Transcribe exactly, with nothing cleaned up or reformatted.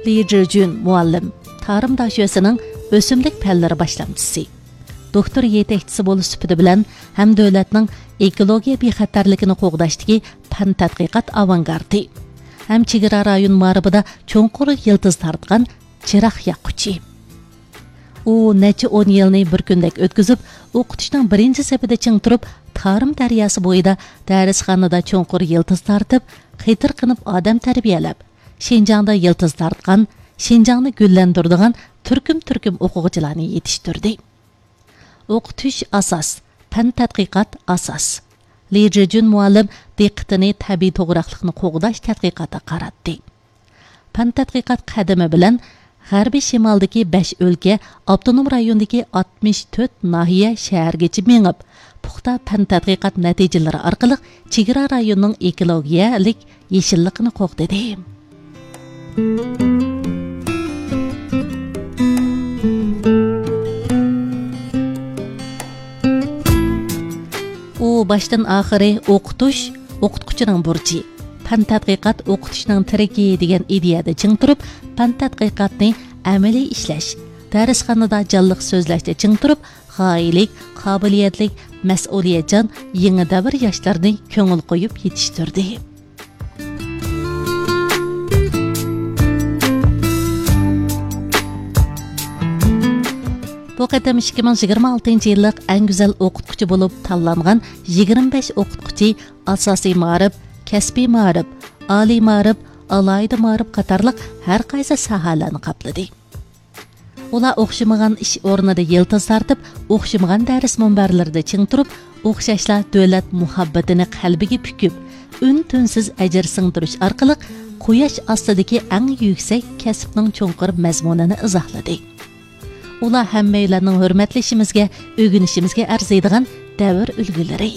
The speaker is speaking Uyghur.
لى جىجۈن مۇئەللىم، تارىم داشۆسىنىڭ ئۆسۈملۈك پەنلىرى باشلامچىسى، دوكتور يېتەكچىسى بولۇش سۈپىتى بىلەن ھەم دۆلەتنىڭ ئېكولوگىيە بىخەتەرلىكىنى قوغداشتىكى پەن تەتقىقات ئاۋانگارتى ھەم چېگرا رايون مائارىپىدا چوڭقۇر يىلتىز تارتقان چىراغ ياققۇچى. ئۇ نەچچە ئون يىلنى بىر كۈندەك ئۆتكۈزۈپ، ئوقۇتۇشنىڭ بىرىنچى سېپىدە چىڭ تۇرۇپ، تارىم دەرياسى بويىدا دەرسخانىدا چوڭقۇر يىلتىز تارتىپ، قېتىرقىنىپ ئادەم تەربىيەلەپ، شىنجاڭدا يىلتىز تارتقان، شىنجاڭنى گۈللەندۈرىدىغان تۈركۈم-تۈركۈم ئوقۇغۇچىلارنى يېتىشتۈردى. ئوقۇتۇش ئاساس، پەن تەتقىقات ئاساس. لى جىجۈن مۇئەللىم دىققىتىنى تەبىئىي توغراقلىقنى قوغداش تەتقىقاتىغا قاراتتى. پەن تەتقىقات قەدىمى بىلەن غەربىي شىمالدىكى بەش ئۆلكە، ئاپتونوم رايوندىكى ئاتمىش تۆت ناھىيە، شەھەرگىچە مېڭىپ، پۇختا پەن تەتقىقات نەتىجىلىرى ئارقىلىق چېگرا رايونىنىڭ ئېكولوگىيەلىك يېشىللىقىنى قوغدىدى. ئۇ باشتىن ئاخىرى ئوقۇتۇش، ئوقۇتقۇچىنىڭ بۇرچى، پەن تەتقىقات ئوقۇتۇشنىڭ تىرىكى دېگەن ئىدىيەدە چىڭ تۇرۇپ، پەن تەتقىقاتنى ئەمەلىي ئىشلەش، دەرسخانىدا جانلىق سۆزلەشتە چىڭ تۇرۇپ، غايىلىك، قابىلىيەتلىك، مەسئۇلىيەتچان يېڭى دەۋر ياشلىرىنى كۆڭۈل قويۇپ يېتىشتۈردى. بۇ قېتىم ئىككى مىڭ يىگىرمە ئالتىنچى يىللىق ئەڭ گۈزەل ئوقۇتقۇچى بولۇپ تاللانغان يىگىرمە بەش ئوقۇتقۇچى ئاساسىي مائارىپ، كەسپىي مائارىپ، ئالىي مائارىپ، ئالاھىدە مائارىپ قاتارلىق ھەر قايسى ساھەلەرنى قاپلىدى. ئۇلار ئوخشىمىغان ئىش ئورنىدا يىلتىز تارتىپ، ئوخشىمىغان دەرس مۇنبەرلىرىدە چىڭ تۇرۇپ، ئوخشاشلا دۆلەت مۇھەببىتىنى قەلبىگە پۈكۈپ، ئۈن-تىنسىز ئەجىر سىڭدۈرۈش ئارقىلىق قۇياش ئاستىدىكى ئەڭ يۈكسەك كەسىپنىڭ چوڭقۇر مەزمۇنىنى ئىزاھلىدى. ئۇلار ھەممەيلەننىڭ ھۆرمەتلىشىمىزگە، ئۆگىنىشىمىزگە ئەرزىيدىغان دەۋر ئۈلگىلىرى.